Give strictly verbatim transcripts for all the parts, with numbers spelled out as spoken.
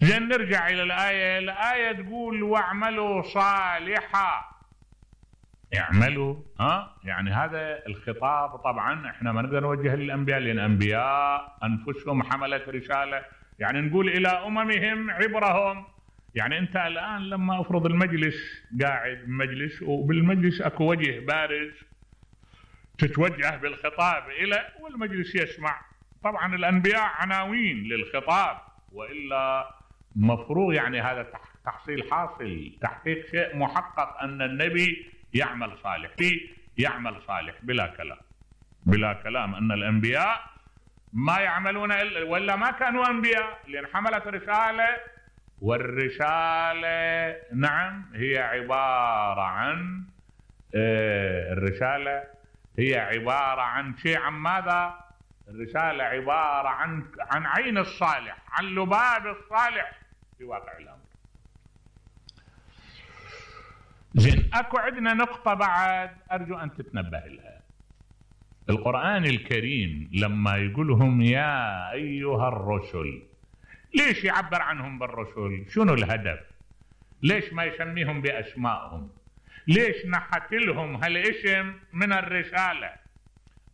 زين نرجع الى الايه. الايه تقول واعملوا صالحا. اعملوا ها يعني هذا الخطاب طبعا احنا ما نقدر نوجه للانبياء لان الانبياء انفسهم حملت رساله، يعني نقول الى اممهم عبرهم. يعني انت الان لما افرض المجلس قاعد مجلس وبالمجلس اكو وجه بارز تتوجه بالخطاب الى والمجلس يسمع، طبعا الانبياء عناوين للخطاب والا مفروض يعني هذا تحصيل حاصل تحقيق شيء محقق ان النبي يعمل صالح يعمل صالح بلا كلام بلا كلام ان الانبياء ما يعملون الا ولا ما كانوا انبياء لان حملت رساله، والرساله نعم هي عباره عن آه الرساله هي عباره عن شيء عن ماذا؟ الرساله عباره عن عن عين الصالح، عن لباب الصالح في واقع الامر. زين اكو عندنا نقطه بعد ارجو ان تتنبه لها. القرآن الكريم لما يقولهم يا أيها الرسل، ليش يعبر عنهم بالرسل؟ شنو الهدف؟ ليش ما يسميهم بأسمائهم؟ ليش نحت لهم هالاسم من الرسالة؟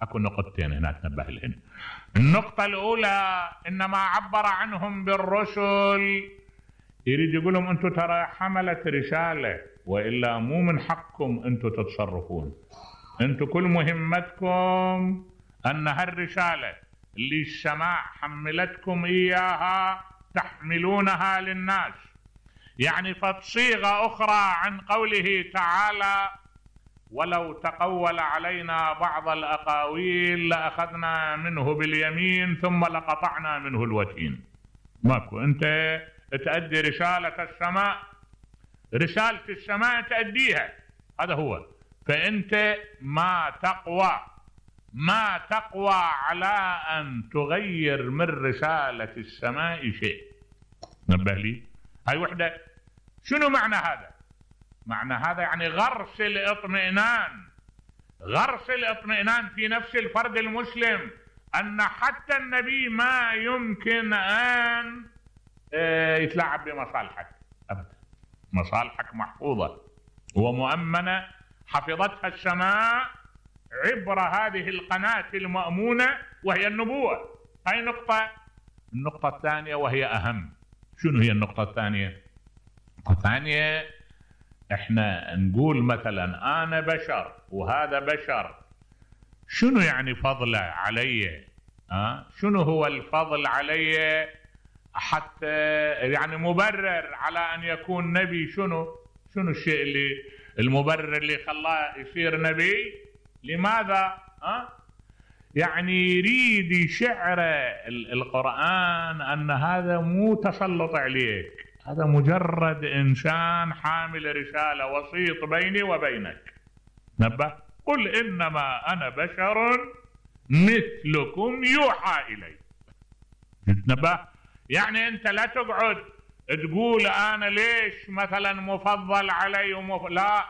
أكو نقطتين هنا تنبه لهن. النقطة الأولى إنما عبر عنهم بالرسل يريد يقولهم أنتم ترى حملت رسالة وإلا مو من حقكم أنتم تتصرفون، انتم كل مهمتكم ان هالرسالة اللي السماء حملتكم اياها تحملونها للناس. يعني فصيغة اخرى عن قوله تعالى ولو تقول علينا بعض الاقاويل لاخذنا منه باليمين ثم لقطعنا منه الوتين. ماكو، انت تأدي رسالة السماء، رسالة السماء تأديها، هذا هو. فأنت ما تقوى ما تقوى على أن تغير من رسالة السماء شيء. نبه لي هاي وحدة. شنو معنى هذا؟ معنى هذا يعني غرس الاطمئنان، غرس الاطمئنان في نفس الفرد المسلم أن حتى النبي ما يمكن أن يتلاعب بمصالحك أبدا. مصالحك محفوظة ومؤمنة، حفظتها السماء عبر هذه القناة المأمونة وهي النبوة. هاي نقطة. النقطة الثانية وهي أهم. شنو هي النقطة الثانية؟ النقطة الثانية احنا نقول مثلا أنا بشر وهذا بشر، شنو يعني فضله علي؟ أه؟ شنو هو الفضل علي حتى يعني مبرر على أن يكون نبي؟ شنو شنو الشيء اللي المبرر اللي خلاه يصير نبي؟ لماذا؟ أه؟ يعني يريد يشعر القرآن أن هذا مو تسلط عليك، هذا مجرد إنسان حامل رسالة، وسيط بيني وبينك. نبه قل إنما أنا بشر مثلكم يوحى إلي. نبه يعني أنت لا تقعد تقول أنا ليش مثلا مفضل علي ومف... لا،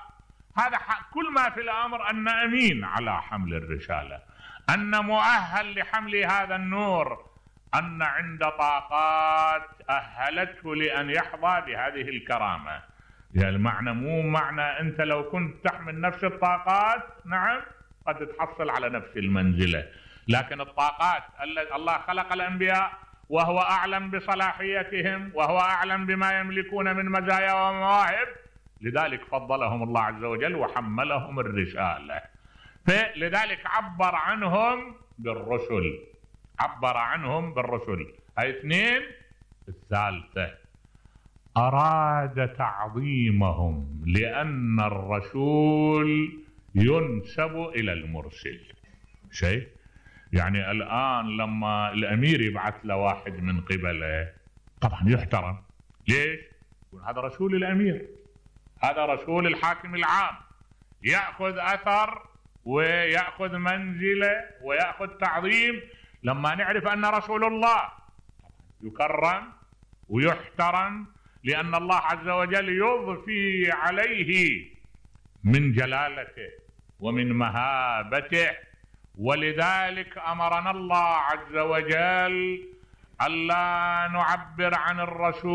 هذا كل ما في الأمر أن أمين على حمل الرسالة، أن مؤهل لحمل هذا النور، أن عند طاقات أهلته لأن يحظى بهذه الكرامة. يعني المعنى مو معنى أنت لو كنت تحمل نفس الطاقات نعم قد تحصل على نفس المنزلة، لكن الطاقات الله خلق الأنبياء وهو أعلم بصلاحيتهم وهو أعلم بما يملكون من مزايا ومواهب، لذلك فضلهم الله عز وجل وحملهم الرسالة. فلذلك عبر عنهم بالرسل، عبر عنهم بالرسل. هاي اثنين. الثالثة أراد تعظيمهم لأن الرسول ينسب إلى المرسل. شيء يعني الآن لما الأمير يبعث له واحد من قبله طبعا يحترم. ليش؟ هذا رسول الأمير، هذا رسول الحاكم العام، يأخذ أثر ويأخذ منزلة ويأخذ تعظيم. لما نعرف أن رسول الله يكرم ويحترم لأن الله عز وجل يضفي عليه من جلالته ومن مهابته، ولذلك أمرنا الله عز وجل ألا نعبر عن الرسول